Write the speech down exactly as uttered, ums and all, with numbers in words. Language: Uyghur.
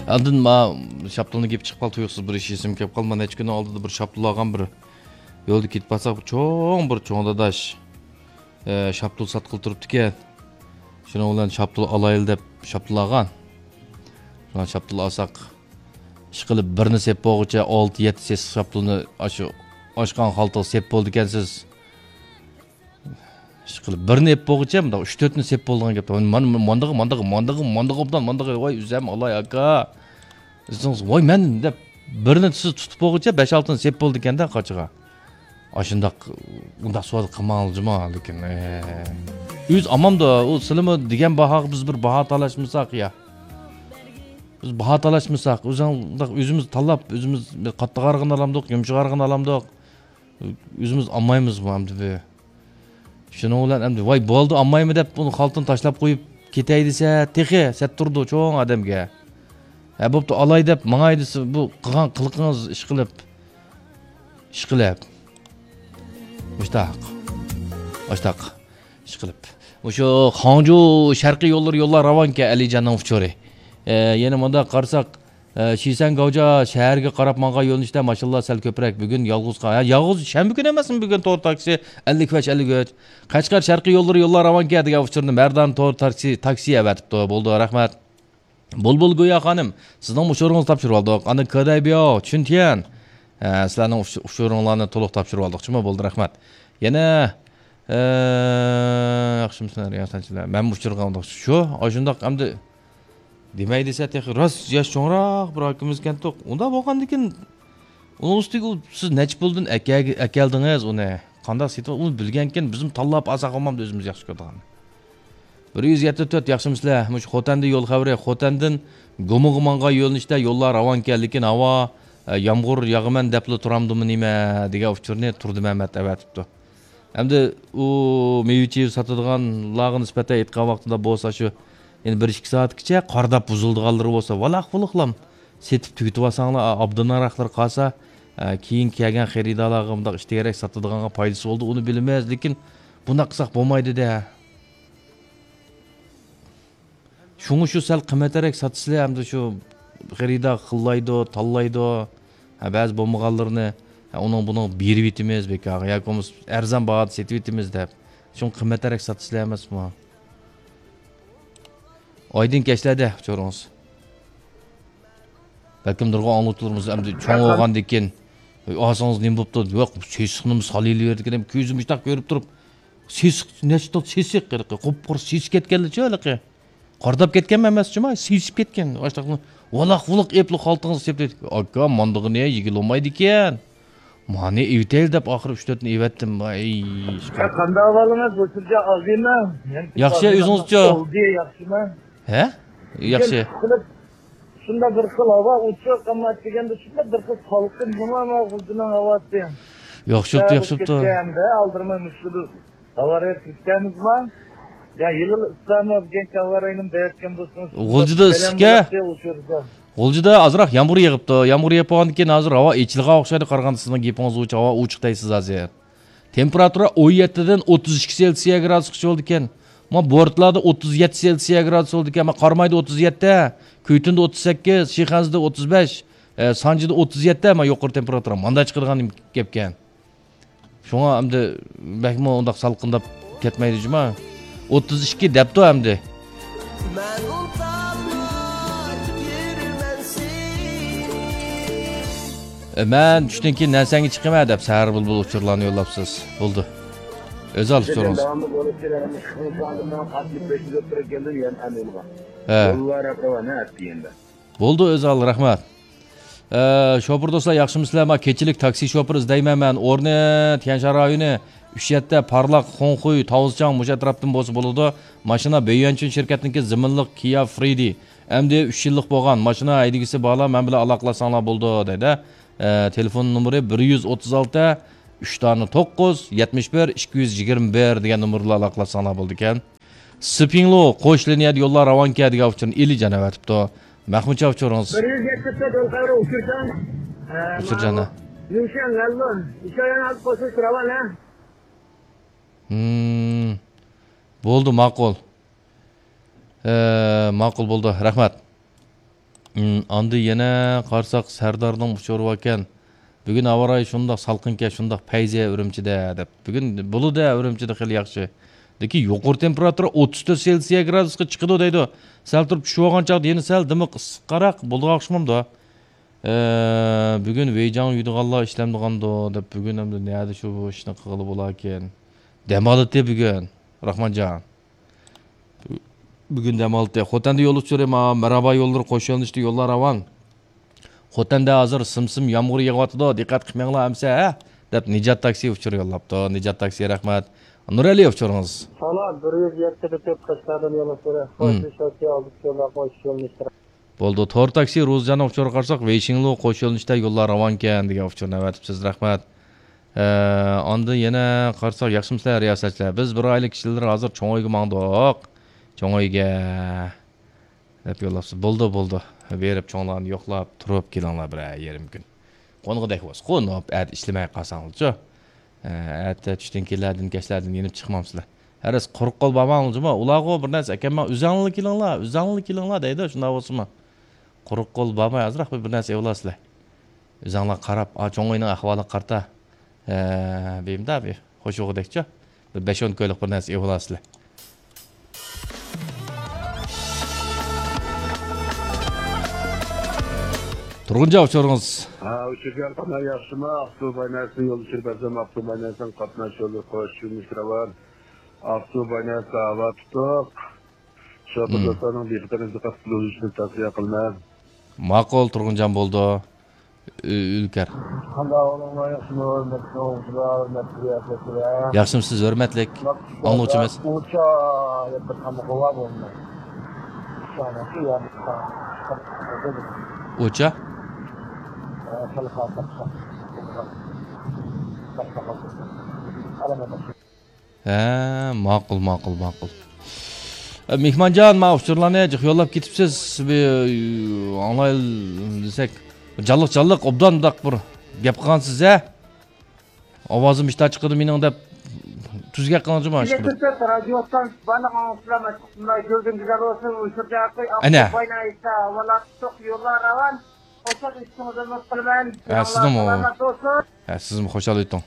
ئاندىن ما شاپتۇلنىڭ گېپى چىقىپ قالدى، تۇيۇقسىز بىر ئىش ئېسىمگە كېلىپ قالدى. ما نەچچە كۈندىن ئالدىدا بىر شاپتۇل ئالغان، بىر يولدا كېتىپ بارساق، بىر چوڭ، بىر چوڭ داداش، ئە، شاپتۇل ساتقىلى تۇرۇپتىكەن. شۇنىڭ بىلەن شاپتۇل ئالايلى دەپ شاپتۇل ئالغان. شۇڭا شاپتۇل ئالساق، ئىشقىلىپ بىرنى سېپ بولغۇچە ئالتە، يەتتە سېسىق شاپتۇلنى ئاشۇ ئاچقان خالتىغا سېپ بولىدىكەنسىز. ئىشقىلىپ بىرنى ئېلىپ بولغۇچە مۇنداق ئۈچ تۆتنى سېپ بولىدىغان گەپ. ماندىغى، ماندىغى، ماندىغى، ماندىغى، ماندىغى، ۋاي ئۆزەم ئالاي ئاكا. ئۆزىڭىز، ۋاي مەن دەپ بىرنى سىز تۇتۇپ بولغۇچە بەش ئالتىنى سېپ بولىدىكەندە قاچىغا. ئاشۇنداق، ئۇنداق سودا قىلماڭلار جۇما، لېكىن، ئە، ئۆز ئامامدا، ئۇ سىلىمۇ دېگەن باھاغا بىز بىر باھا تالاشمىساق يا. بىز باھا تالاشمىساق، ئۆزۈڭ-، ئۆزىمىز تاللاپ، ئۆزىمىز قاتتىق ئارىغىنى ئالامدۇق، يۇمشاق ئارىغىنى ئالامدۇق. ئۆزىمىز ئالمايمىزمۇ ئەمدى بۇ؟ شۇنىڭ بىلەن ئەمدى، ۋاي بولدى، ئالمايمەن دەپ ئۇنى خالتىنى تاشلاپ قويۇپ كېتەي دېسە، تېخى سەت تۇرىدۇ چوڭ ئادەمگە. ھە، بوپتۇ، ئالاي دەپ ماڭاي دېسە، بۇ قىلغان قىلىقىڭىز ئىشقىلىپ. ئىشقىلىپ. مۇشتاق. مۇشتاق. ئىشقىلىپ. مۇشۇ خاڭجۇ شەرقىي يوللىرى يوللار راۋانكەن ئەلىجاننىڭ ئۇچۇرى. ئە، يەنە مۇنداق قارىساق، ئە، شىسەن گاۋجا شەھەرگە قاراپ ماڭغان يۆنىلىشتە ماشىنىلار سەل كۆپرەك. بۈگۈن يالغۇز قا-، ھە، يالغۇز شەنبە كۈنى ئەمەسمۇ بۈگۈن تور تاكسى ئەللىك بەش، ئەللىك ئۈچ. قەشقەر شەرقىي يوللىرى يوللار راۋانكەن دېگەن ئۇچۇرنى مەردان تور تاكسى، تاكسى ئەۋەتىپتۇ. بولدى، رەھمەت. بۇلبۇل گويا خانىم، سىزنىڭ ئۇچۇرىڭىزنى تاپشۇرۇۋالدۇق. ئاندىن كېدەي بياۋ، چۈنتيەن. ھە، سىلەرنىڭ ئۇچ-، ئۇچۇرۇڭلارنى تولۇق تاپشۇرۇۋالدۇق. چۈما بولدى، رەھمەت. يەنە، ئە، ياخشىمۇسىلەر، ياخشىلار؟ مەنمۇ ئۇچۇرغا ئۇنداق شۇ، ئاشۇنداق ئەمدى دېمەي دېسە تېخى راست ياش چوڭراق بىر ئاكىمىزكەنتۇق. ئۇنداق بولغاندىكىن ئۇنىڭ ئۈستىگە ئۇ سىز نەچچە پۇلدىن ئەكەلگە-، ئەكەلدىڭىز ئۇنى؟ قانداق سېتىپ ئۇنى بىلگەنكىن بىزمۇ تاللاپ ئالساق بولمامدۇ ئۆزىمىز ياخشى كۆرىدىغان. بىر يۈز يەتتە تۆت، ياخشىمۇسىلەر؟ مۇشۇ خوتەندىن يول خەۋىرى، خوتەندىن گۇمىغا ماڭغان يۆنىلىشتە يوللار راۋانكەن، لېكىن ھاۋا، ئە، يامغۇر ياغىمەن دەپلا تۇرامدۇمۇ نېمە دېگەن ئۇچۇرنى تۇردى مەمەت ئەۋەتىپتۇ. ئەمدى ئۇ مېۋە-چېۋە ساتىدىغانلارغا نىسبەتەن ئېيتقان ۋاقتىدا بولسا شۇ، يەنە بىر ئىككى سائەتكىچە قارىداپ بۇزۇلىدىغانلىرى بولسا، ۋالاق-ۋۇلۇقلام سېتىپ تۈگىتىۋالساڭلار، ئابدۇناراقلىرى قالسا، ئە، كېيىن كەلگەن خېرىدارلارغا مۇنداق ئىشتىگەرەك ساتىدىغانغا پايدىسى بولىدۇ، ئۇنى بىلىمىز، لېكىن بۇنداق قىلساق بولمايدۇ-دە. شۇڭا شۇ سەل قىممەترەك ساتىسىلە، ئەمدى شۇ خېرىدار خىللايدۇ، تاللايدۇ. ھە، بەزى بولمىغانلىرىنى، ھە، ئۇنىڭ بۇنىڭ بېرىۋېتىمىز بىكارغا ياكى بولمىسا ئەرزان باھادا سېتىۋېتىمىز دەپ. شۇڭا قىممەترەك ساتىسىلە ئەمەسمۇ؟ ئايدىڭ كەچلەردە ئۇچۇرىڭىز. بەلكىم نۇرغۇن ئاڭلىغۇچىلىرىمىز ئەمدى چوڭ بولغاندىن كېيىن، «ئاي، ئاسىڭىز نېمە بوپتۇ؟» «ياق، سېسىقنىمۇ سالىلىۋېرىدىكەن» دەپ كۆزى مۇشتاق كۆرۈپ تۇرۇپ، سېسىق، نەچچە تال سېسىق، ھېلىقى قۇپقۇرۇق سېسىپ كەتكەنلىچۇ ھېلىقى. قارىداپ كەتكەنمۇ ئەمەس جۇما، سېسىپ كەتكەن. ئاشتاقنى ۋالاق-ۋۇلۇق ئېپلا خالتىڭىزغا سېپىپ، «ئاكا، ماندىغىنى يېگىلى بولمايدىكەن. مانى ئېۋىتەيلى» دەپ ئاخىرى ئۈچ تۆتنى ئېۋەتتىم. ۋاي، يا، قانداق ئەھۋالىڭىز، بۇ سىرجا ئازىمە؟ ياخشى، ئۆزىڭىزچۇ؟ ياخشىمۇ؟ ھە؟ ياخشى. شۇنداق بىر خىل ھاۋا ئوچۇق، ئەمما دېگەندە شۇنداق بىر خىل سالقىن، نېمە غۇلجىنىڭ ھاۋاسى. ياخشى بوپتۇ، ياخشى بوپتۇ. ئالدىرىماي مۇشۇ ئاۋارەگە كىرسەمىزما؟ يا، يىلىل ئىسلامى بۈگۈنكى ئاۋارەگنى بەرتكەن بولسىڭىز. غۇلجىدا ئىسسىككە؟ غۇلجىدا ئازراق يامغۇر يېغىپتۇ. يامغۇر يېغىپ بولغاندىن كېيىن ھازىر ھاۋا ئېچىلغان ئوخشايدۇ، قارىغاندا سىزنىڭ گېپىڭىز بويىچە ھاۋا ئوچۇق دەيسىز ھازىر. تېمپېراتۇرا ئون يەتتىدىن ئوتتۇز ئىككى سېلسىيە گرادۇسقىچە بولىدىكەن. ما بورتلاردا ئوتتۇز يەتتە سېلسىيە گرادۇس بولىدىكەن. ما قارامايدا ئوتتۇز يەتتە، كۈيتۈندە ئوتتۇز سەككىز، شىخەنزىدە ئوتتۇز بەش، ئە، سانجىدا ئوتتۇز يەتتە، ما يۇقىرى تېمپېراتۇرا. ماندا چىقىدىغان گەپكەن. شۇڭا ئەمدى بەكمۇ ئۇنداق سالقىنداپ كەتمەيدۇ جۇما. ئوتتۇز ئىككى دەپتۇ ئەمدى. ئە، مەن چۈشتىن كېيىن نەرسەڭگە چىقىمەن دەپ سەھەر بۇلبۇل ئۇچۇرلارنى يوللاپسىز. بولدى. ئۆزى ئالىپ تۇرۇڭىز. ھە. بولدى، ئۆزى ئال، رەھمەت. ئە، شوپۇر دوستلار، ياخشىمۇسىلەر؟ ما كېچىلىك تاكسى شوپۇرى ئىزدەيمەن مەن. ئورنى تيەنشان رايونى، ئۈچ يەتتە، پارلاق، خۇڭخۇي، تاۋزچاڭ، مۇشۇ ئەتراپتىن بولسا بولىدۇ. ماشىنا بېيۈەنچۈن شىركەتنىڭكى زېمىنلىق كىيا فرىدى. ئەمدى ئۈچ يىللىق بولغان. ماشىنا ھەيدىگۈسى بارلار مەن بىلەن ئالاقىلاشساڭلار بولىدۇ، دەيدۇ. ئە، تېلېفون نومۇرى بىر يۈز ئوتتۇز ئالتە، ئۈچ دانە توققۇز، يەتمىش بىر، ئىككى يۈز يىگىرمە بىر دېگەن نومۇر بىلەن ئالاقىلاشساڭلار بولىدىكەن. سىپىڭلۇ قوش لىنىيەدە يوللار راۋانكەن دېگەن ئۇچۇرنى ئېلىجان ئەۋەتىپتۇ. مەخمۇتجان ئۇچۇرىڭىز. بىر يۈز يەتتە تۆت يول خەۋىرى ئۇچۇرساڭ، ئە، ئۇچۇرجان، ماۋۇ، ھە. ليۇشيەن، لەنلۇن، ئىشايان ئالىپ قوشۇلۇش راۋان، ھە؟ ھىم. بولدى، ماقۇل. ئە، ماقۇل بولدى. رەھمەت. ئاندىن يەنە قارىساق، سەردارنىڭ ئۇچۇرى باركەن. بۈگۈن ھاۋا رايى شۇنداق سالقىنكەن، شۇنداق پەيزى ئۈرۈمچىدە دەپ. بۈگۈن بولىدۇ ئۈرۈمچىدە خېلى ياخشى. لېكىن يۇقىرى تېمپېراتۇرا ئوتتۇز تۆت سېلسىيە گرادۇسقا چىقىدۇ دەيدۇ. سەل تۇرۇپ چۈشۈۋالغان چاغدا يەنە سەل دىمىق ئىسسىققاراق بولىدىغان ئوخشىمامدۇ؟ ئە، بۈگۈن ۋېيجاڭ يۇيىدىغانلار ئىشلەمدىغاندۇ دەپ، بۈگۈن ئەمدى نەدە شۇ ئىشنى قىلغىلى بولاركىن؟ دەم ئالىدۇ بۈگۈن، راخمانجان. بۈگۈن دەم ئالدى. خوتەندە يول ئۇچۇرى، ما، مەرھابا يوللىرى قوش يۆنىلىشتە يوللار راۋان. خوتەندە ھازىر سىم-سىم يامغۇر يېغىۋاتىدۇ، دىققەت قىلماڭلار ئەمسە، ھە؟ دەپ نىجات تاكسى ئۇچۇر يوللاپتۇ. نىجات تاكسى، رەھمەت. نۇرئەلى ئۇچۇرىڭىز. سالام، بىر يۈز يەتتە بىر تۆت قەشقەردىن يول ئۇچۇرى. قوش يۆنىلىشتە، ئالدى ئۇچۇرلار قوش يۆنىلىشتە. بولدى. تور تاكسى روزىجاننىڭ ئۇچۇرىغا قارىساق، ۋېيشىڭلۇ قوش يۆنىلىشتە يوللار راۋانكەن دېگەن ئۇچۇرنى ئەۋەتىپسىز. رەھمەت. ئە، ئاندىن يەنە قارىساق، ياخشىمۇسىلەر رىياسەتچىلەر؟ بىز بىر ئائىلە كىشىلىرى ھازىر چوڭ ئۆيگە ماڭدۇق. چوڭ ئۆيگە دەپ يوللاپسىز. بولدى، بولدى. بېرىپ چوڭلارنى يوقلاپ تۇرۇپ كېلىڭلار بىرەر يېرىم كۈن. قونغۇدەك بولسا قونۇپ، ئەتە ئىشلىمەي قالساڭلارچۇ. ئە، ئەتە چۈشتىن كېيىنلەردىن، كەچلەردىن يېنىپ چىقمامسىلەر. ھەرىس قۇرۇق قول بارماڭلار جۇمۇ. ئۇلارغۇ بىر نەرسە ئەكەلمەڭ، ئۆزەڭلار كېلىڭلار، ئۆزەڭلار كېلىڭلار دەيدۇ، شۇنداق بولسىمۇ. قۇرۇق قول بارماي ئازراق بىر، بىر نەرسە ئېلىۋالارسىلەر. ئۆزەڭلار قاراپ، ئا، چوڭ ئۆينىڭ ئەھۋالىغا قارىتا. ھە، بىمدا بىر خوش بولغۇدەكچۇ. بىر بەش-ئون كويلۇق بىر نەرسە ئېلىۋالارسىلەر. تۇرغۇنجان ئۇچۇرىڭىز. ھە، ئۇچۇرجان قانا ياخشىمۇ؟ ئاقسۇ باينەسنى يول ئۇچۇرۇپ بەرسەم، ئاقسۇ باينەسنىڭ قاتناش يولى قوش يۆنىلىش راۋان. ئاقسۇ باينەس ھاۋا تۇتۇق. شوپۇر دوستلارنىڭ دىققىتىنى دىققەت قىلدۇرۇشىنى تەۋسىيە قىلىمەن. ماقۇل، تۇرغۇنجان بولدى. ئۈ-، ئۈلكەر. قانداق ئوغلۇڭلار، ياخشىمۇ؟ ھۆرمەتلىك ئوقۇغۇچىلار، ھۆرمەتلىك رىياسەتچىلەر. ياخشىمۇسىز، ھۆرمەتلىك ئاڭلىغۇچىمىز؟ ئۇچا يەتتە قامۇقى بار بولماي. ئۇچانىڭكى يەردە ئۇچا؟ خېلى خاسلىق. ئەلەمەت. ھە، ماقۇل، ماقۇل، ماقۇل. ئە، مېھمانجان، ما ئۇچۇرلارنى جىق يوللاپ كېتىپسىز. بىر ئاڭلايلى دېسەك، جانلىق، جانلىق، ئوبدان مۇنداق بىر گەپ قىلغانسىز، ھە؟ ئاۋازىم ئىشتا چىقىدۇ مېنىڭ دەپ تۈز گەپ قىلىڭ جۇما، ئىشقىلىپ. رادىيو ئاڭلىغۇچىلار، گۈزەل بولسۇن، ئۇچۇرجان ئاكا، ئەنە. يوللار راۋان. خۇشال ئۆتۈڭىز، ئۈمىد قىلىمەن. ھە، سىزنىڭمۇ. سالامەت بولسۇن. ھە، سىزمۇ خۇشال ئۆتۈڭ.